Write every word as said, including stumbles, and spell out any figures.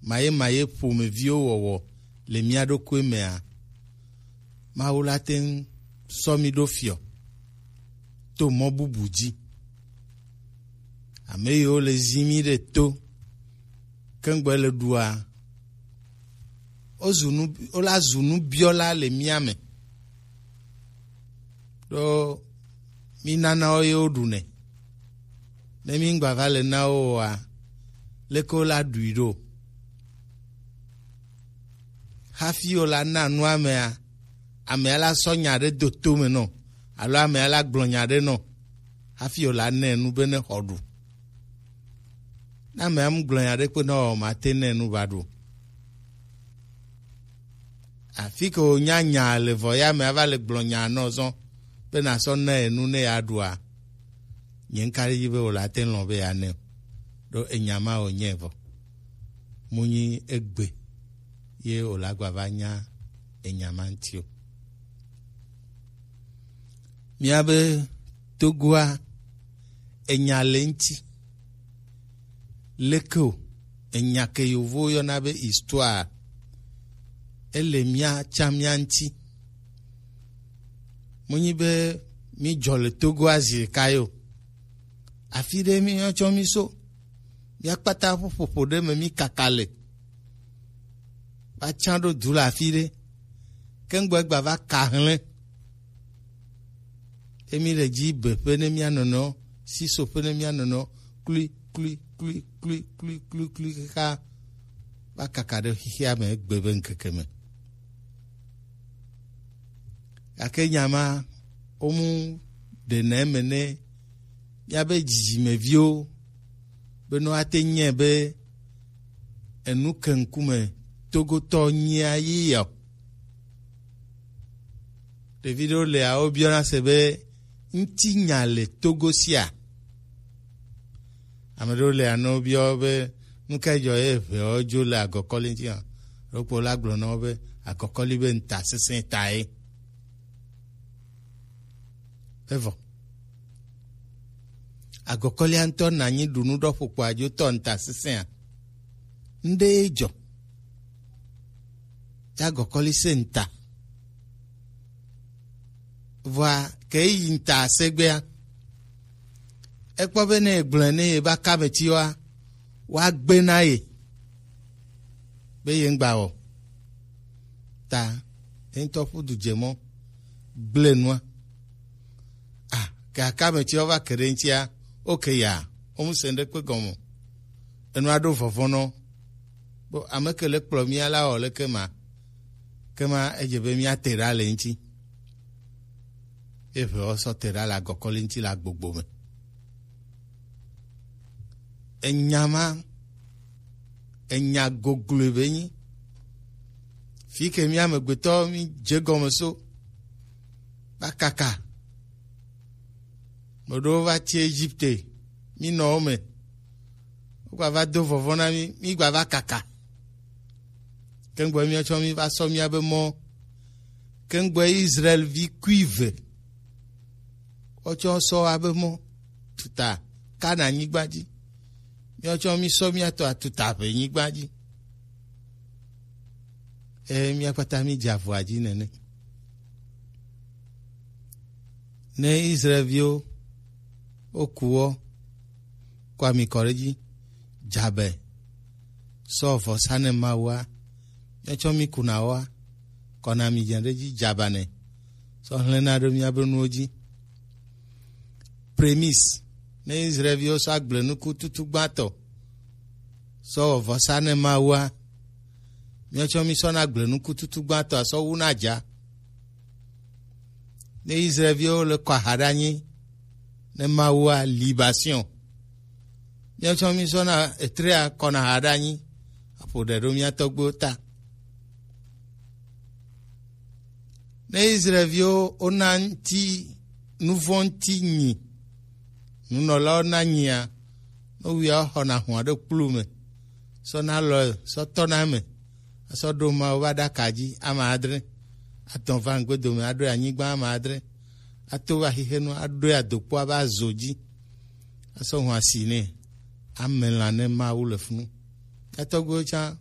maye maye ƒomeviwo wɔwɔ le mía ɖokui mea, Mawu la te ŋu sɔ mí ɖo fiɔ to mɔ bubu dzi. Ame yiwo le zi mí ɖe to keŋgbe le ɖua, wozu nu, wola zu nubiɔla le mía me. Ɖo mí nana wo ye woɖunɛ. Ne mí ŋgba va le na wo oa, leke wola ɖui ɖo? Hafi wola na nu amea, amea la sɔ nya ɖe do to me nɔ, alo amea la gblɔ nya ɖe nɔ, hafi wola nɛ nu be ne xɔ ɖu. Ne amea mu gblɔ nya ɖe kpe nɔ o, mate nɛ nu va ɖu. Afi ke wònya nya le vɔ ya me ava le gblɔ nya nɔ zɔn be nasɔ na enu ne ya ɖua. Nye ŋka ɖe edzi be wòle ate ŋu lɔ̃ be yeanɛ o. Ɖo enya ma wònye vɔ. Mu nyi egbe ye wòle agba va nya enya ma ŋuti o. Míabe Togoa, enya le ŋuti. Leke o, enya ke yovowo yɔna be histoire, ele mía tsã mía ŋuti. Menyi be mídzɔ le Togoa zi ɖeka ye o. Afi ɖe míetsɔ mí so. Míakpata ƒo ƒoƒo ɖe me mí kaka le. Va tsã ɖo du le afi ɖe. Keŋgbɔ egba va ka hlẽ. Emi le dzi be ƒe ne mía nɔnɔ, si so ƒe ne mía nɔnɔ, kli, kli, kli, kli, kli, kli, kli, kaka va kaka ɖe xixia me egbe be ŋkeke me. Gake nya ma, womu ɖena eme ne míabe dzidzimeviwo be ne woate nyɛ be enu ke ŋkume Togotɔ nyia yi ya o. Ɖevi ɖewo lea, wobiɔna se be, ŋutinya le Togo sia? Ame ɖewo lea, ne wobiɔ be, nu kae dzɔ ye ʋeawo dzo le agɔkɔli ŋuti hã? Ɖokpo la gblɔ na wo be, agɔkɔli be ŋutasesẽ tae. Evɔ. Agɔkɔlia ŋutɔ nanyi ɖu nu ɖɔ ƒokpo adzo tɔ ŋutasesẽa? Ŋɖe ye dzɔ. Ya agɔkɔli se ŋuta. Vɔa, ke yi ŋuta segbea, ekpɔ be ne egblɔe ne ye ba ka me tsi wa, woagbe na ye be ye ŋgba wɔ. Ta ye ŋutɔ ƒu du dze mɔ, gblẽ nua. Ah, ke aka me tsi wa va ke ɖe ŋutia, oke ya, wo mu se ŋɖe kpe gɔme o. Enua ɖo vɔvɔ̃ nɔ. Bo ame ke le kplɔ mía la wɔ leke ma? Ke ma edze be mía te ɖa le ŋuti. Ye ʋe wɔ sɔ te ɖa le agɔkɔli ŋuti le agbogbo me. Enya ma, enya gogloe be nyi. Fi ke mía amegbetɔ mí dze gɔme so, va kaka. Ame ɖewo va tsi Egipte, mí nɔ wo me. Wogba va do vɔvɔ̃ na mí, mí gba va kaka. Keŋgbɔ míatsɔ mí va sɔ míabe mɔ. Keŋgbɔ Israel vi kuive. Wotsɔ sɔ abe mɔ tuta Kana nyigba dzi. Míatsɔ mí sɔ míatɔ atuta ʋe nyigba dzi. Eye mía kpata mí dze avɔa dzi nene. Ne Israelviwo woku wɔ, kɔ ami kɔ ɖe edzi, dzabe, sɔ vɔsa ne Mawua, míatsɔ mí kuna wɔa, kɔna mi dze ɖe edzi dzabanɛ, sɔ hlẽna ɖe míabe nuwo dzi. Prémisse, ne Israelviwo sɔ agble nuku tutu gbãtɔ sɔ wɔ vɔsa ne Mawua, míawo tsɔ mí sɔna agble nuku tutu gbãtɔ asɔ wu na dza. Ne Israelviwo le kɔ aha ɖe anyi ne Mawua, libation, míawo tsɔ mí sɔna etrea kɔna aha ɖe anyi aƒo ɖe ɖo mía tɔgbuiwo ta. Ne Israelviwo wona ŋuti nuvɔ̃ ŋuti nyi, nunɔlawo na nyia, nowuia woxɔna hũa ɖe kplu me, sɔ na lɔ sɔ tɔna eme, asɔ ɖo Mawu ƒe aɖaka dzi ame adre, atɔ̃ va ŋgbe dome aɖoe anyigba ame adre, ato va xixenu aɖoe adokpoa ƒe azo dzi, asɔ hũa si nɛ, ame lã ne Mawu le funu. Katɔgbewo tsã